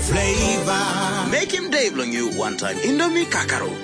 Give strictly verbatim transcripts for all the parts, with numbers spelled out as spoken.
Flavor. Mekim day bilong yu wantaim Indomie kakaruk.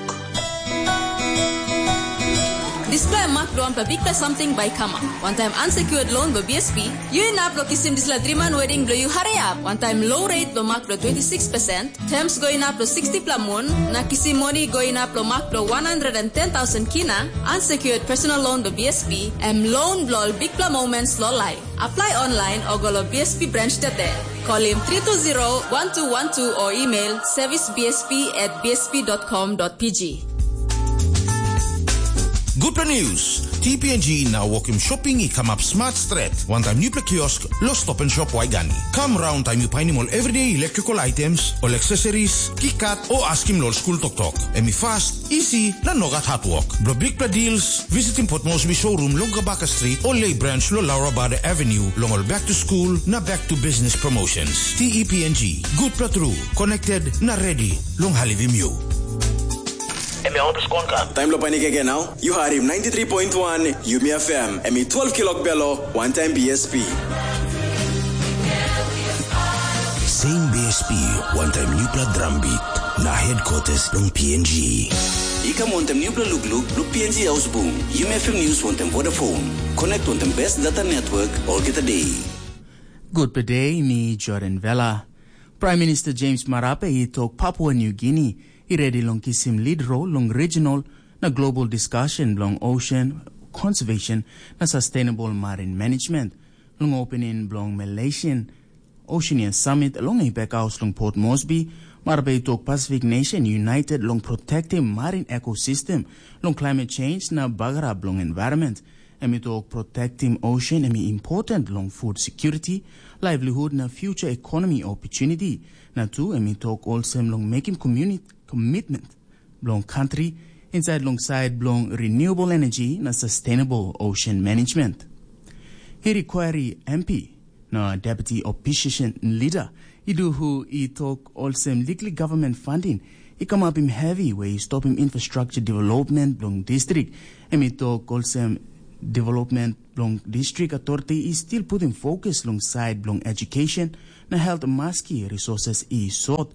Dispela mak bilong wanpela bikpela samting bai i kamap. Wantaim unsecured loan bilong B S P, yu inap long kisim dispela driman wedding bilong yu hariap. Wantaim low rate bilong mak bilong twenty six percent, terms go inap long sixty pela mun, na kisim moni go inap long mak bilong one hundred and ten thousand kina, unsecured personal loan bilong B S P, em loan bilong ol bikpela moments long life. Apply online o go long B S P branch today. Kolim three two zero one two one two o email service B S P at B S P dot com dot P G. Gutpela news. T P N G na wokim shopping i kamap smart stret. Wantaim newpela kiosk lo Stop and Shop Waigani. Kam raun taim yu painim ol everyday electrical items, ol accessories, kikat o askim lo ol skul toktok. Em i fast, easy, na nogat hard work. Blo bikpela deals, visitim Port Moresby showroom long Gabaka Street o Lay Branch lo Laura Bada Avenue long ol back to school na back to business promotions. T E P N G, gutpela tru, connected na ready long helpim yu. Em ya otus konka. Taim lo panik again now. Yu harim ninety three point one Yumi F M. Em i twelve kilok belo, one time B S P. Same B S P, one time newpela drum beat. Na headquarters long P N G. I kam wantem newpela lukluk, luk P N G Ausbung, Yumi F M News wantem Vodafone. Connect wantem best data network, olgeta day. Gutpela day, mi Jordan Vela. Prime Minister James Marape i tok Papua New Guinea i redi long kisim lead role long regional na global discussion bilong ocean conservation na sustainable marine management. Long opening bilong Malaysian Oceania Summit long i backhaus long Port Moresby, Marape i tok Pacific Nation United long protectim marine ecosystem long climate change na bagarap bilong environment. Em i tok protectim ocean em i important long food security, livelihood na future economy opportunity. Na tu em i tok olsem long mekim community commitment bilong country inside long side bilong renewable energy na sustainable ocean management. He require M P na deputy opposition leader i do hu i tok olsem liklik government funding i kamapim heavy we i stopim infrastructure development bilong district. Em i tok olsem development bilong district authority i still putim focus long side bilong education na health maski resources i sot.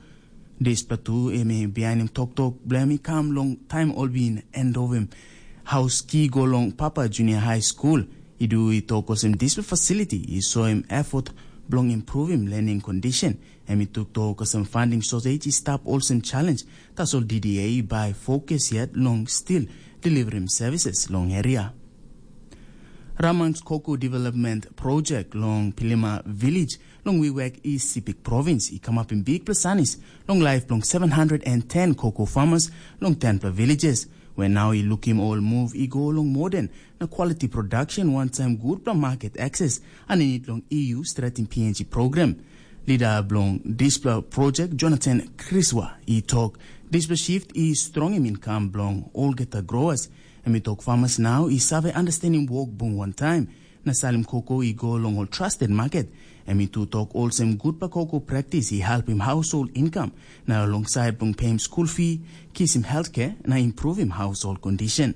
Dispela tu em i bihainim toktok bilong em i kam long taim ol bin endovim haus ki go long Papa Junior High School. I du i tok olsem dispela fasiliti i soim efot bilong impruvim learning condition. Em i toktok olsem funding shortage i stap olsem challenge, tasol D D A i bai fokus yet long stil deliverim services long area. Ramans Koko Development Project long Pilima Village long Wewak East Sepik Province i kamapim bikpela sanis long laip bilong seven hundred and ten koko farmers long tenpela villages, we nau i lukim ol move i go long modern na quality production wantaim gutpela market access aninit long E U Strategic P N G program. Lida bilong dispela project Jonathan Kriswa i tok dispela shift i strongim income bilong olgeta growers. Em i tok farmers nau i save understanding wok bung wantaim na salim koko i go long ol trusted market. Em i tu tok olsem gutpela koko practice i helpim household income na long side bilong payim school fee, kisim healthcare na improvim household condition.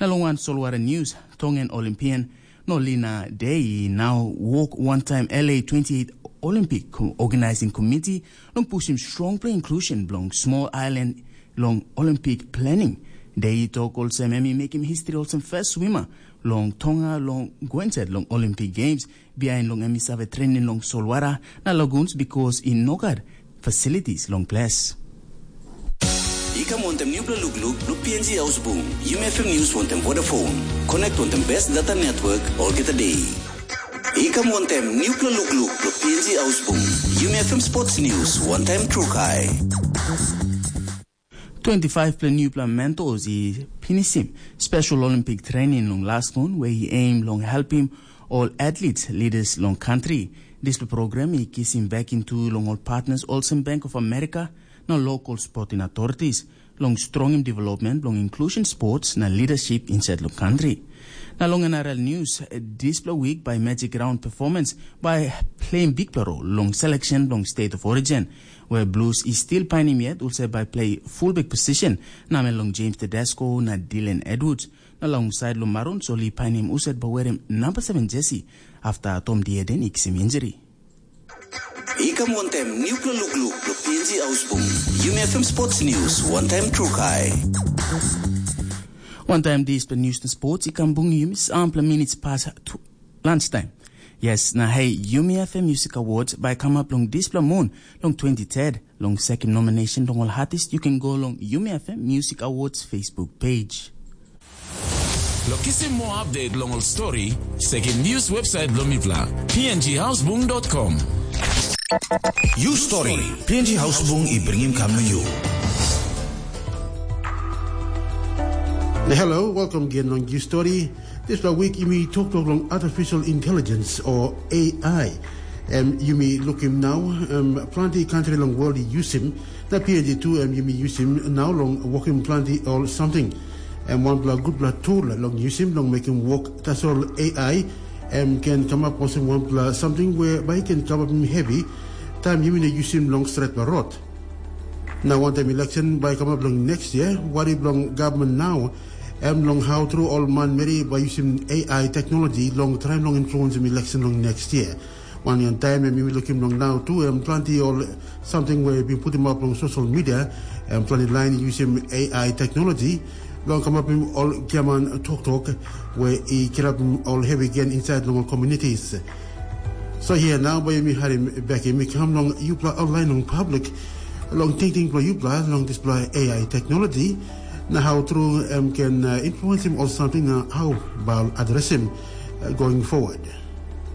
Na long wan solwara news, Tongan Olympian Nolina Dei i nau wok wantaim L A twenty eight Olympic Organizing Committee long pushim strongpela inclusion bilong small island long Olympic planning. Dei i tok olsem em i mekim history olsem first swimmer long Tonga long go inside long Olympic Games, bihain long em i save trening long solwara na lagoons because i no gat facilities long ples. I kam wantem newpela lukluk, luk P N G Ausbung, Yumi F M News wantem Vodafone. Connect wantem best data network, olgeta day. I kam wantem newpela lukluk, luk P N G Ausbung, Yumi F M Sports News, wantaim Trukai. Twenty-five pela newpela mentors i pinisim special Olympic training long last one, where i aim long helpim ol athletes, leaders long country. Dispela program i kisim back into long ol partners olsem Bank of America na local sporting authorities long strongim development long inclusion sports na leadership inside long country. Na long N R L news, dispela week by Magic Round performance by playing big role long selection long state of origin, where Blues is still painim yet, also by play fullback position, namel long James Tedesco na Dylan Edwards. Na long side long Maroons, oli painim uset bawerim number seven jersey after Tom Dieden iksim injury. I kam wantaim nupela lukluk long P N G Ausbung. Yumi F M Sports News, wantaim Trukai. Wantaim dispela news na sports, i kam bung yumi sampela minutes pas tu, lunchtime. Yes, na hey, Yumi F M Music Awards bai kamap long dispela moon, long twenty-third, long second nomination long ol artist, you can go long Yumi F M Music Awards Facebook page. Lo kisim moa update long ol story, sekim news website bilong mipela, P N G Ausbung dot com. You Story, P N G Hausbung i bringim kam na you. Hello, welcome again long You Story. Dispela wik yumi toktok long artificial intelligence o A I. Em yumi lukim nau, em planti kantri long world i yusim, na P N G tu em yumi yusim nau long wokim planti ol samting. Em wanpela gutpela tool long yusim long mekim wok tasol A I, em ken kamap olsem wanpela samting we bai ken kamapim hevi, taim yumi no yusim long stretpela rot. Na wantaim election bai kamap long next year, wari bilong gavman nau, em long hau tru ol manmeri bai yusim A I teknologi long traim long influensim election long next year. Wanyan taim em yumi lukim long nau tu, em planti ol samting we bin putim up long social media, em planti lain yusim A I teknologi, long kamapim ol giaman toktok, we i kirapim ol hevi gen insait long ol communities. So here now, bai yumi harim bek yumi kam long yupela online long public, long tingting bilong yupela long dispela A I teknologi, na hau tru em ken uh, influensim ol samting na hau bai adresim uh, going forward.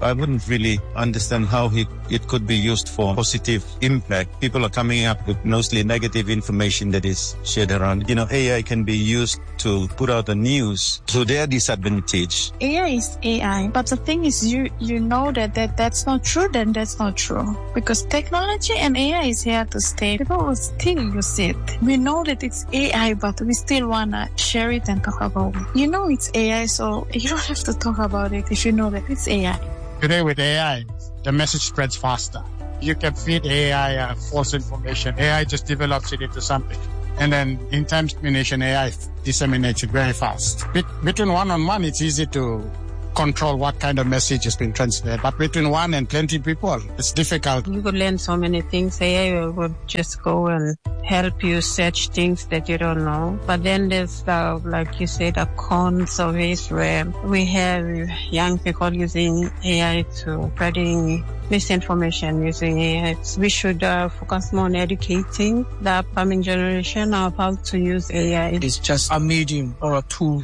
I wouldn't really understand how he, it could be used for positive impact. People are coming up with mostly negative information that is shared around. You know, A I can be used to put out the news to their disadvantage. A I is A I, but the thing is, you you know that, that that's not true, then that's not true. Because technology and A I is here to stay. People will still use it. We know that it's A I, but we still want to share it and talk about it. You know it's A I, so you don't have to talk about it if you know that it's A I. Today with A I, the message spreads faster. You can feed A I uh, false information. A I just develops it into something. And then in times of dissemination, A I disseminates it very fast. Be- between one on one, it's easy to control what kind of message has been transferred. But between one and twenty people, it's difficult. You could learn so many things. A I will just go and help you search things that you don't know. But then there's, uh, like you said, the cons of it where we have young people using A I to spreading misinformation using A I. We should uh, focus more on educating the upcoming generation of how to use A I. It's just a medium or a tool.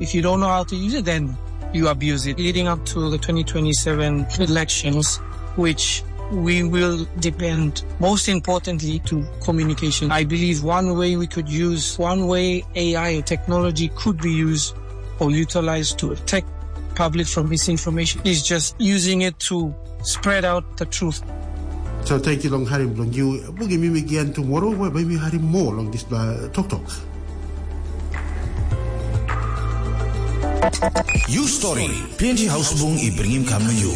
If you don't know how to use it, then you abuse it. Leading up to the twenty twenty-seven elections, which we will depend most importantly to communication. I believe one way we could use, one way A I technology could be used or utilized to protect public from misinformation is just using it to spread out the truth. So thank you long harim bilong you. Bugim yumi again tomorrow, where bai mi harim more long dispela toktok. You Story, P N G Hausbung i bringim kam na you.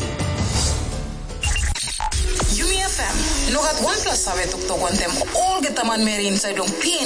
Yumi F M, no gat wanpela save toktok wantem olgeta manmeri inside long P N G.